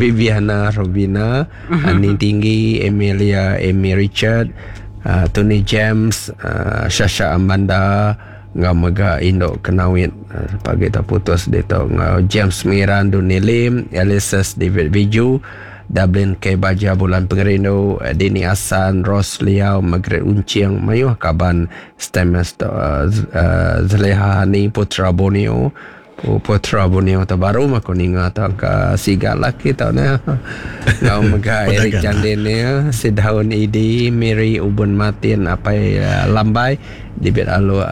Viviana Robina, Aning Tinggi, Emilia Amy Richard, Tony James, Shasha Amanda enggau mega indu Kenawit pagi tu putus ditu enggau James Mengiran Duni Lim, Alices David Biju, Dublin K Baja Bulan Pengerindu, Dini Asan, Rose Liau, Margaret Unching, mayuh kaban Stamus tu Zaleha Hani Putra Borneo. Putra Borneo tu baru meh aku ninga tu angka siga laki tu neh. Enggau mega Eric Jandin nya, Sidaun Idi, Mary Ubun Martin, Apai Lambai, Dibit Aluk,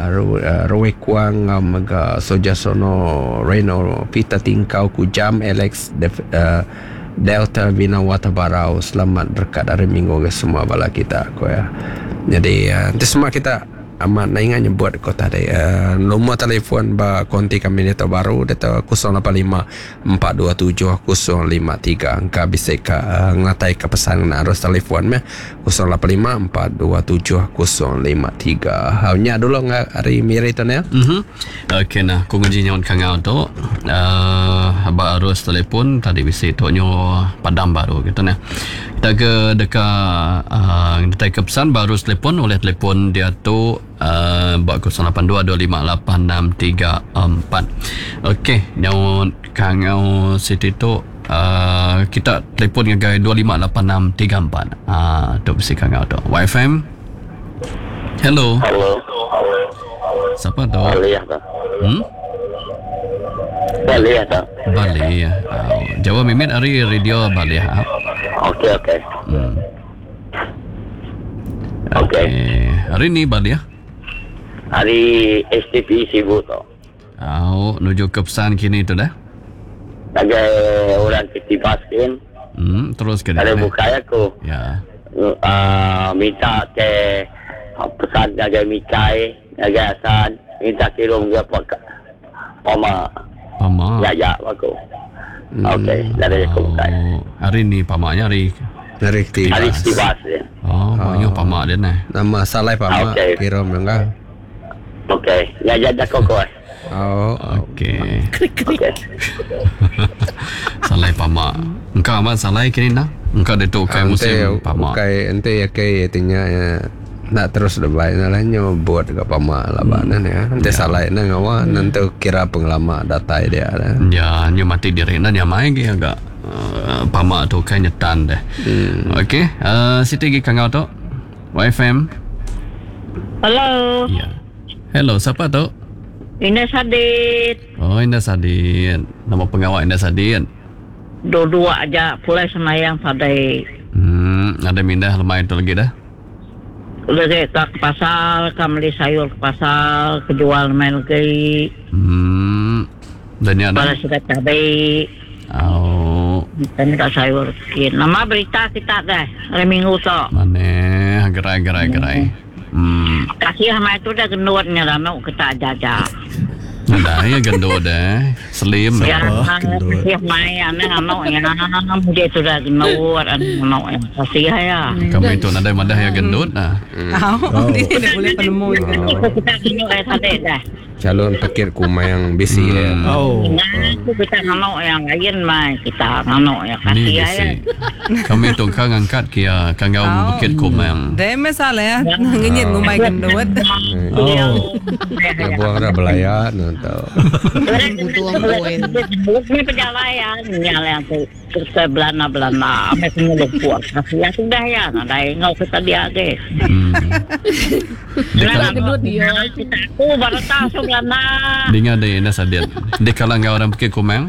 Roy Kuang enggau mega Sojasono Reno, Peter Tingkau Kujam, Alex Delta Binawata Barau. Selamat berekat hari minggu ngagai semua bala kita, ku iya. Nyadi enti sema kita. Amat enda ingat nyebut ko tadi lumur telefon ba konti kami ditu baru ditu 085 427 053 engka bisi ka ngenatai ka pesan ngena arus telefon meh 085 427 053. Hau nya dulu enggau ari Miri tu neh. Mhm. Okey nah ku nguji nyaut kangau tu uhh ba arus telefon tadi bisi tu nyu padam baru gitu neh. Kita ke deka uhh ngetai ke pesan ba arus telefon ulih telefon diatu uhh ba 08225863 4. Okey nyaut kangau siti tu uhh kita telefon ngagai 258634 uhh tu bisi kangau tu. YFM. Hello. Hello. Siapa tu? Balih tu. Hmm? Balih tu. Balih. Oh, jauh mimit ari radio Balih. Ah. Okey okey. Hmm. Okey. Okay. Hari ni Balih. Hari STP Sibu tu. Au, nuju ke pesan kini tu dah. Ngagai orang ti tibas kin. Hmm, terus ke Ari bukai aku. Ya. Uh, minta ke pesan ngagai Mikai, ngagai Asan, minta kirum ke Pama. Pama. Ya ya aku. Hmm. Okey, dari aku bukai. Oh, hari ni pama nya hari hari tibas. Hari tibas dia. Oh, oh. pama dia nah. Nama salai pama okay. kirum enggak. Okey, ya ya jako ko. Oh, okey. Krik krik. Okey. Salai pama. Engka amat salai kini nah. Engka ditu ukai musim pama. Ukai enti ake ti nya ya enda terus debai nya lah nyu but ga pama laban ne ya. Enti salai ne ngawa nentu kira pengelama datai dia ne. Ya, nyu mati diri enda nyamai agi aga pama tu ukai nyetan deh. Okey, uh, siti agi kangau tu. YFM. Hello. Ya. Hello, siapa tu? Ina Sadit. Oh, Ina Sadit. Nama pengawa Ina Sadit? Dua-dua aja pulai semayang tadi. Hmm, ada mindah lemai tu lagi dah. Lagi ka ke pasar, ka meli sayur ke pasar, ke jual lemai lagi. Hmm. Dan nya Bala sida cabi. Au. Kan ka sayur sikit. Nama berita kita deh hari minggu tu? Maneh gerai gerai gerai. Hmm. Kasih mai tu dah gendut nya ranu kita aja aja. Nadai ya gendut deh. Slim. Ya, kasih mai ane anu ya. Mudi tu dah gendut ane anu ya. Kasih ya. Kami tu nadai madah ya gendut nah. Au, dia boleh penemu ya gendut. Kita gendut eh tadi dah. Calon pekit kumang bisi iya. Oh. Aku kita nganu yang lain mai kita nganu ya Ni kasih bisi. ya. Kami tu ka ngangkat kia ka enggau Oh. bukit kumang. Deh meh salah ngenyit ngumbai gendut. Oh. Lebuh ra belaya ne tu. Butuh poin. Ni pejalai ya nya lah tu. Kita belana-belana amai pengelupur. Kasih ya sudah ya nadai enggau kita dia agi. Hmm. Dikala gendut dia. Kita aku baru tahu so belana. Dinga deh Ina Sadin. Dikala enggau orang Bukit Kumang.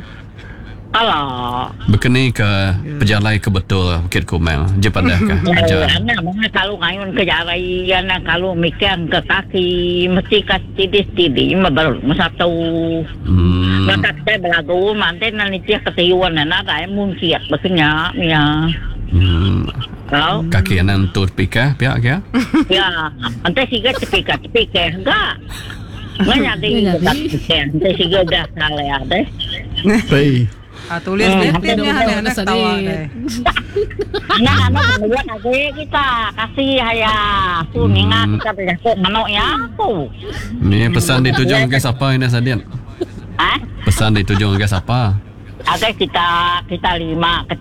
Alah. Bekeni ke pejalai ke betul Bukit Kumang. Je padah ke ajar. Anak mana kalau ngayun ke jari, anak kalau mikang ke kaki, mesti ka steady-steady, baru satu. Hmm. Baka kitai belagu mantin nan nitih ke tiun ne nadai munsit baka nya mia. Hmm. Tau. Kaki anang entu tepikah pia ke? Ya, enti siga tepikah tepikah ga. Meh nyadi ga tepikah enti siga udah salah deh. Pei. Ah tulis deh Hmm. pin nya alih anak ketawa deh. Anak anak benuan agi kita kasih aya aku ninga kita bejaku manuk iya aku. Ni pesan dituju ngagai sapa ina Sadin? Ha? Pesan dituju ngagai sapa? Agai kita kita lima kita.